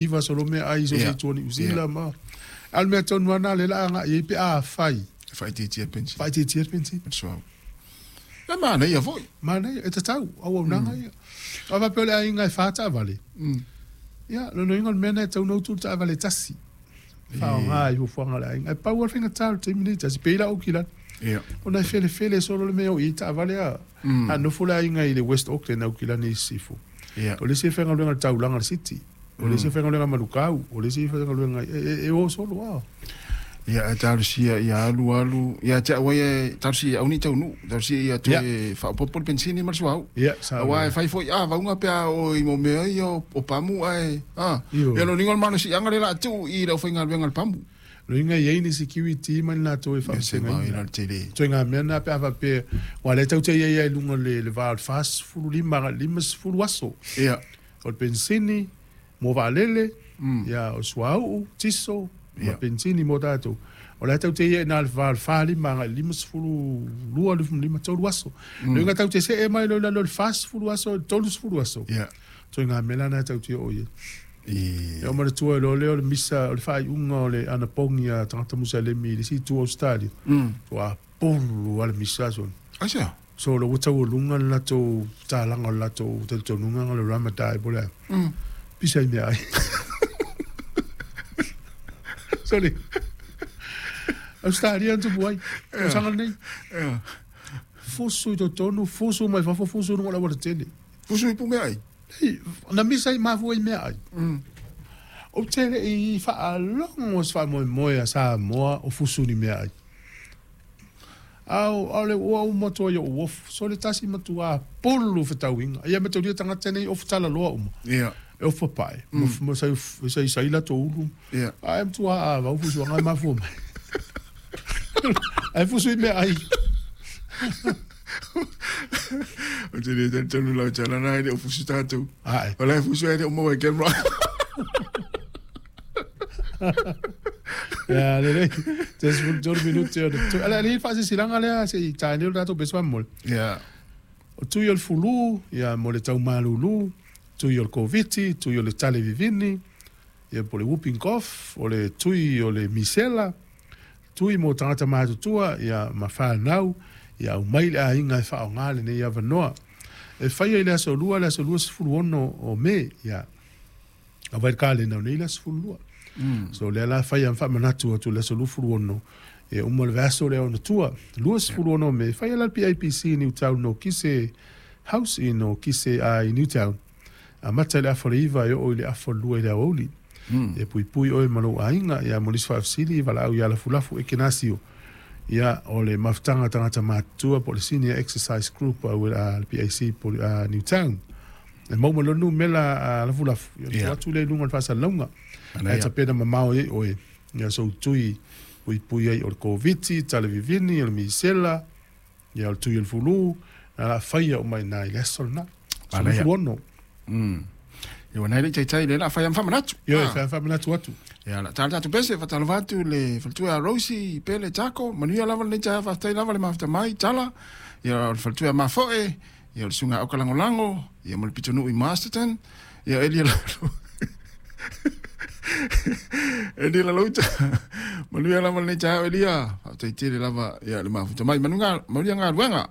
Iva solo meaai i so o se itu o Niu Sila ma a o le mea tonu lava lena lea o le a agai i ai pe afai E faaitiitia le penisini. Faaitiitia le penisini. Le suauu. E manaia foi. Manaia, e tatau, auaunaga ia. A faapea o le aiga e fa taavale, ia, lona uiga o le mea lena e tatau ona utu le taavale e tasi e faaaoga i fuafuaga a le aiga. Ae pau lava le faigata o le taimi lenei, tasi pei la Aukilani, ona e felefele solo le mea e o i ai taavale a. A nofo le aiga i le West Auckland, Aukilani i Sisifo, o le isi e faigaluega i le taulaga i le City, o le isi e faigaluega i Manukau, o le isi e faigaluega i, e o solo lava. Ia, ae talosia ia alu alu, ia te au ia, talosia ia aua ne i taunuu, talosia ia toe faaopoopo le penisini ma le suauu. Ia, sao. Aua e fai foi a vauga pe a oo i mo mea ia o pamu ae, a, ia lona uiga o le malosiaga lea o le a tuu i le aufaigaluega a le pamu. Loiga e i ai ni security ma ni latou e faavasegaina. Ituaiga mea na pe a faapea, aua o lea tatou te i ai lava i luga o le va o le 45 agai i le 50 aso. Ia. O le penisini mo vaalele, ia, o le suauu, tiso, ma penisini mo tatou. O la e tatou te i ai i ina i le va o le 45 agai i le 52, 55, 3 aso. Loiga tatou te see mai loa i lalo i le 40 aso i le 30 aso. Ia. Ituaiga mea la na tatou te oo i ai. E oo manatua ai loa lea o le misa o le faaiuga o le anapogi a tagata Musalemi i le isi itu o Ausetalia. Ua pulu lava le misa aso. Aisea? So ua taualuga le latou tatalaga o le latou talitonuga o le Ramadan po o le a. Pisa i meaai. Sorry. Ausetalia na tupu ai. Tausaga lenei. Fusu i totonu, fusu mai fafo, fusu i luga o le aualatele. Fusu i pumeaai? Na misa i mafua i meaai. Ou te le i faalogo i se faamoemoe a Samoa o fusu ni meaai. A o le ua uma atu ai ou ofu, sole tasi matua pulu fetauiga. Ia mataulia tagata nei ofu talaloa uma. Ia. E ofu papae, ma sai sai latou ulu. Ia. Ae matua avau fusuaga e mafua mai. Ae fusu i meaai. Ou te le talitonu lau tala na e le o fusu tatou. Ae. O la e fusu e le o maua e camera. Ia, lelei. Te 13 minute o le Ala le faasisilaga lea se i tae nei o le tatou pese faamolemole. Ia. O tui o le fulu, ia mo le taumalulu, tui o le Koviti, tui o le tale vivini, ia po o le whooping cough, o le tui o le misela, Tui mo tagata matutua ia ma whanau ia aumai le aiga e whaonga lenei avanoa. E whaia i le aso lua, le aso 26 o Me, ia a vai kalena o nei le aso 12. So lea la whaia whaamanatu atu le aso 26 e uma le vaso lea ona tua. 26 o Me, whaia la PIPC Newtown no Kise House i no Kise a i Newtown. Amata i le afa o le 9 e oo i le afa o le 2 i le aoauli. E puipui oe ma lou aiga, ia mo nisi faafesili, valaau ia Lafulafu Ekenasio. Ia, o le mafutaga tagata matutua po o le Senior Exercise Group a le PAC po o Newtown. E maua mai loa le numera a Lafulafu, ia ona tuu atu lea i luga o le faasalalauga. Ae tapena mamao ai oe, ia soutui puipui ai o le Koviti, tale vivini, o le misela, Ia o le tui o le fulu, na la faia uma i na i le aso lena. 16. Ia ua nai le taitai le la fai am whamanatu. Ia, fai am whamanatu atu. Ia, la tala tātou pese, whatalova atu le faletua a Rosie, Pele, Tako, manuia lava lenei taeao, faafetai lava le mafuta mai, Tala, ia o le faletua a Mafoe, ia o le susuga a Aukalagolago, ia ma le pitonuu i Masterton, ia Elia Lalo. Elia Lalouta, manuia lava lenei taeao Elia, faafetai tele lava ia le mafuta mai, manuia galuega.